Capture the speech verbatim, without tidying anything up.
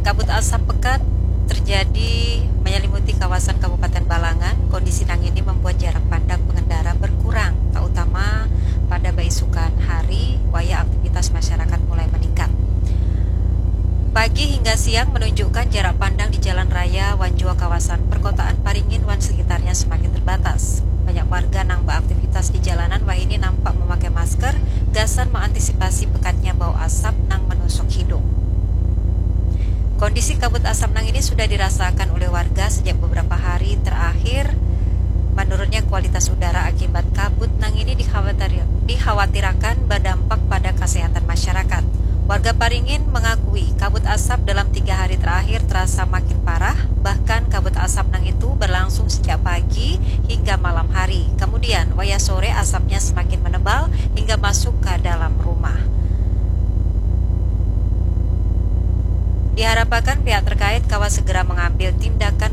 Kabut asap pekat terjadi menyelimuti kawasan Kabupaten Balangan. Kondisi nang ini membuat jarak pandang pengendara berkurang, terutama pada baisukan hari, wayah aktivitas masyarakat mulai meningkat. Pagi hingga siang menunjukkan jarak pandang di jalan raya wan jua kawasan perkotaan Paringin wan sekitarnya semakin terbatas. Banyak warga nang beraktivitas di jalanan wahini nampak memakai masker gasan mengantisipasi pekatnya bau asap nang menusuk hidung. Kondisi kabut asap nang ini sudah dirasakan oleh warga sejak beberapa hari terakhir. Menurunnya kualitas udara akibat kabut nang ini dikhawatir- dikhawatirakan berdampak pada kesehatan masyarakat. Warga Paringin mengakui kabut asap dalam tiga hari terakhir terasa makin parah, bahkan kabut asap nang itu berlangsung sejak pagi hingga malam hari. Kemudian, wayah sore asapnya semakin menebal hingga masuk ke dalam rumah. Diharapkan pihak terkait kawa segera mengambil tindakan